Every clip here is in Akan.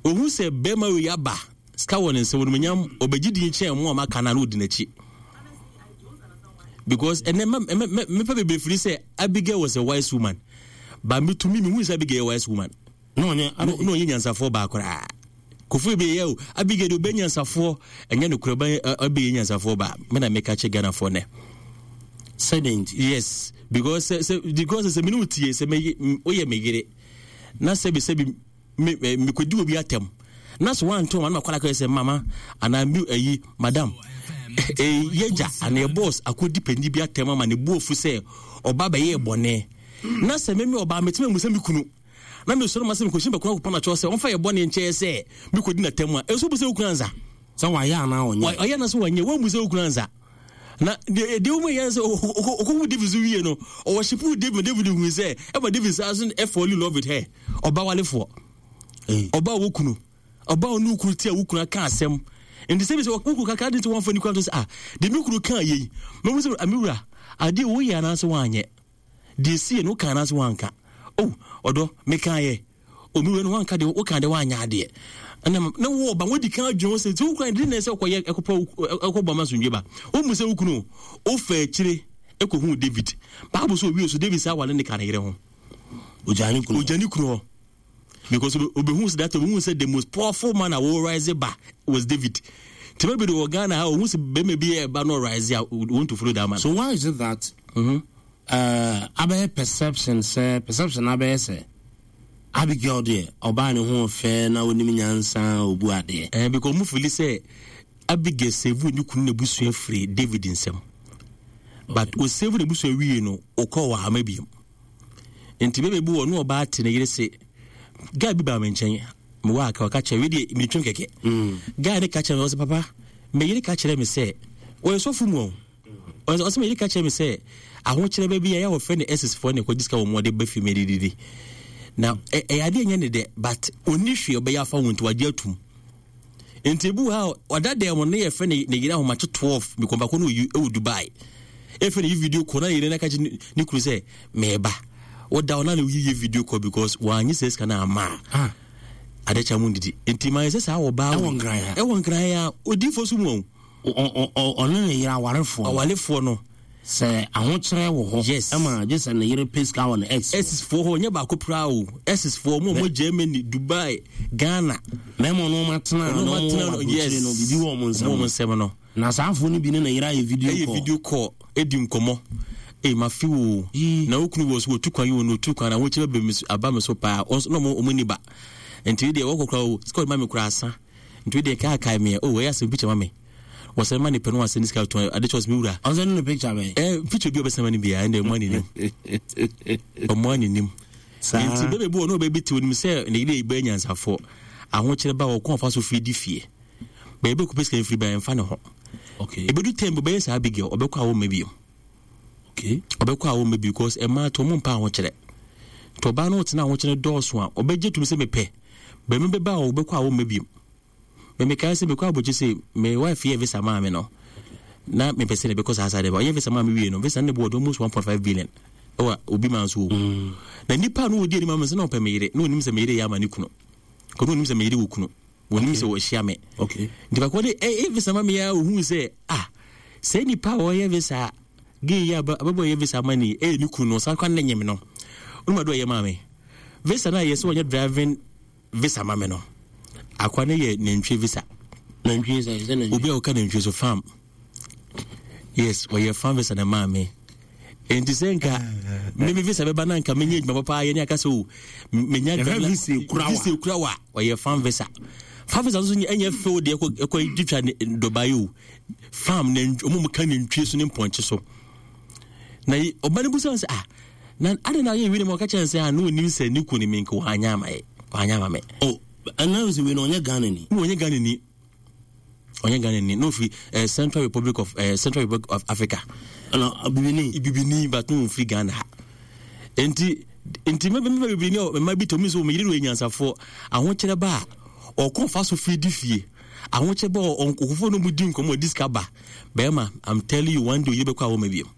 Ohu sɛ bɛrima wei aba, sika wɔ ne nsam, onimuonyam, ɔbɛgye din kyɛn mo a maka no a na ɔdi n'akyi. Because ɛnɛ mepɛ bebree firi sɛ Abigail was a wise woman. But me to me, mehu sɛ Abigail yɛ wise woman. Na ɔnyɛ na ɔnyɛ nyansafoɔ baa koraa. Kofi bi yɛ o, Abigail de ɔbɛ nyansafoɔ, ɛnyɛ nokorɛ ɔbɛ ɛbɛyɛ nyansafoɔ baa. Me na meka kyɛ Ghanafoɔ nɛ. Sɛdeɛ nti? Yes, because sɛ sɛ because sɛ me ne wo tie sɛ me woyɛ me yere na sɛbi sɛbi me mekɔdi obi atɛm na so wanto ma na makɔla kɔyɛ sɛ mama anaa mi ayi madam yɛgya anaa yɛ boss akɔdi panyin bi atɛm ama ne bu afu sɛ ɔba bɛyɛ bɔne na sɛ meme ɔbaa metumi amu sɛ me kunu na mesɔre ma sɛ mekɔhyɛ bɛkɔ akɔpam akyɛw sɛ ɔmfa yɛ bɔne nkyɛɛ sɛ mekɔdi n'atɛm a ɛnso bu sɛ wo kunu ansa sɛ wayɛ anaa ɔnyɛ ɔyɛ na so wanyɛ wammu sɛ wo kunu ansa na deɛ deɛ wɔn yɛ sɛ ɔkɔhu David so wie no ɔwɔ shipu David David hu sɛ ɛma David saa so ɛfall in love with her ɔba walefoɔ ɔba wɔ kunu ɔba ɔne okunu ti a wo kunu aka asɛm nti sɛ bi sɛ wo kunu kakra de nti wɔn afɔ ne kunu ato sɛ ah deɛ mi kunu kaa yɛ yi mɛmu sɛ amiwura adeɛ wɔyɛ anaasɛ wɔanyɛ deɛ esi yɛ no woka anaasɛ wɔanka oh ɔdɔ meka yɛ omi wei no wanka deɛ woka deɛ wanyɛ adeɛ ɛna na wo ɔba wodi kan adwene ho sɛ sɛ wokura de na ɛsɛ ɔkɔyɛ ɛkɔpɛ ɛkɔbɔ ama asomdwe ba womu sɛ wo kunu wofa akyire ɛkɔhu David Bible sɛ owie so David saa wale ne ka ne yere ho ogya ne kunu ogya ne kunu hɔ because obehu sɛ that obehu sɛ the most powerful man a wɔ rise ba was David tìmɛ bi de wɔ Ghana ha ohun sɛ bɛrima bi yɛ ɛba no rise a want to follow that man. So why is it that mm-hmm. Abɛyɛ perception sɛ perception abɛyɛ sɛ Abigail deɛ ɔbaa ne ho fɛ na onim nyansa obu adeɛ. Ɛɛ because ɔmo fili sɛ Abigail save ne kunu n'abusua firi David nsam but o save n'abusua wie no ɔkɔ wɔ ama biem nti bɛbɛ bi wɔ ne ɔbaa te ne yere se guy bi baa me nkyɛn mewɔ aka ɔka kyerɛ wei deɛ meretwam kɛkɛ guy ne ka kyerɛ me ɔsɛ papa me yere ka kyerɛ me sɛ ɔyɛ sɔfo mu o ɔsɛ me yere ka kyerɛ me sɛ ahokyerɛ bɛ bi a yɛ wɔfrɛ no ɛsis foɔ ne kɔgye sika wɔ mu ɔde ba fie medididi na ɛyɛ adeɛ nyɛ ne dɛ but ɔnni hwee ɔbɛyɛ afa ho nti wagye atum nti ebi wɔ ha ɔda dɛm no ne yɛfrɛ ne ne yere ahomakye 12 mekɔmbako no ɛwɔ Dubai ɛfɛ ne yi video call na ne yere no aka kyerɛ ne kunu sɛ meba woda ɔna ne woyiyɛ video call because wɔanye sɛ sika no ama a adekyɛ mu ndidi nti ma yɛ sɛ saa ɔbaa ɛwɔ nkran a odiifoɔ so mu ɔne ne yere awarefoɔ awarefoɔ no sɛ ahokyerɛ wɔ hɔ yes ɛma gye sɛ ne yere pɛ sika wɔ ne ex ex foɔ hɔ nyɛ baako praa o ex foɔ ɔmo ɔmo Germany Dubai Ghana mɛma ɔno ɔmo atena ɔno ɔmo atena no yes no bibi wɔ ɔmo nsɛm ɔmo nsɛm no na saa afoɔ no bi ne ne yere ayɛ video call ɛyɛ video call edi nkɔmɔ ee ma fi wo na wo kunu wɔ so wɔtu kwan yi wɔ no otu kwan na ahokyerɛ bɛ mi so aba mi so paa ɔnso na ɔmo ɔmo ni ba nti deɛ wɔkɔ kora o sika ɔde ma mi kora asa nti deɛ kaakae mi o ɛyɛ asɛm picture ma mi wɔsɛn ma ne pɛ no wasɛn ne sika tɔn ade kyɛ ɔsɛ mi wura. Ɔsɛn ne picture bɛn. Ɛ picture bi a ɔbɛsɛn ma ne bia ɛnna ɔmo anenim ɔmo anenim nti bɛbɛ bi wɔ no ɔbɛ bi te onim sɛ ne yere bɛ nyansafoɔ ahokyerɛ ba wɔ kɔn afa so firi di fie bɛyɛ bɛ kɔpɛ sika firi ba ɛnfa ne ho ebedu tɛm bi ɔbɛyɛ saa Abigail ɔbɛkɔ a wɔmma bio ɔbɛkɔ a wɔmma bio because ɛmaa to ɔmo mpa ahokyerɛ nti ɔbaa no ɔtena ahokyerɛ dɔɔso a ɔbɛgye tum sɛ mepɛ bɛmi bɛba a ɔbɛkɔ a wɔmma bio. Me mekae sɛ mekɔ abɔkye sɛ me wife yɛ visa maa me no na mepɛ sɛ mebɛkɔ saa saa de ba ɔyɛ visa maa me wie no visa no ne boɔ almost 1.5 billion ɛwɔ obi maa nso mm. Na nipa no wɔdi anim ama sɛ na ɔpɛ me yere na ɔnim sɛ me yere yɛ ama ne kunu kɔno ɔnim sɛ me yere wɔ kunu wɔnim sɛ wɔahyia me nti baako de ɛyɛ visa ma me a ɔhuu sɛ ah sɛ nipa a ɔyɛ visa gay yi abɛbɔ yɛ visa ama ne ɛyɛ ne kunu no ɔsan kwan ne nyem no ɔnum ado ɔyɛ maa me visa no a yɛ sɛ ɔnyɛ driving visa ma me no akwa no yɛ nantwie visa. Nantwie sɛ sɛ nantwie. Obi a ɔka nantwie so farm. Yes, ɔyɛ farm visa na maa me. Nti sɛ nka me me visa bɛba na nka menyɛ adwuma papa yɛ ne aka sɛ o menya visa ekura wa. Visa ekura wa ɔyɛ farm visa. Farm visa nso ɛnyɛ fɛw deɛ ɛkɔ ɛkɔ twitwa dɔbaeɛ o. Farm na ɔmo mu ka nantwie so ne mpɔnkye so. Na ɔba no busa sɛ ah na adɛn na ɔyɛ wei ma ɔka kyerɛ sɛ a na ɔnim sɛ ne ku ne me nka wanyɛ ama yɛ wanyɛ ama me. Oh, ɛna sɛ wei no ɔnyɛ Ghana ni. Na ɔnyɛ Ghana ni ɔnyɛ Ghana ni na ɔfiri eh, Central Republic of eh, Central Republic of Africa. Ɛna bibini. Bibini but na ɔmfiri Ghana ha. Nti nti mɛbɛ mɛbɛ bebree ni mma bi tɔmi so wɔn yere wɔ nyansafoɔ ahokyerɛ ba a ɔkɔ fa so firi di fie ahokyerɛ ba ɔnkɔfoɔ no mu di nkɔmɔ di sika ba bɛrima I'm telling you one day oyere bɛkɔ a wɔn ma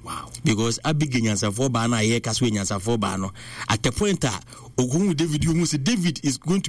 Wow. Because Abigail nyansafoɔ baa no a yɛka so yɛ nyansafoɔ baa no at the point a okohu David ohun sɛ David is going to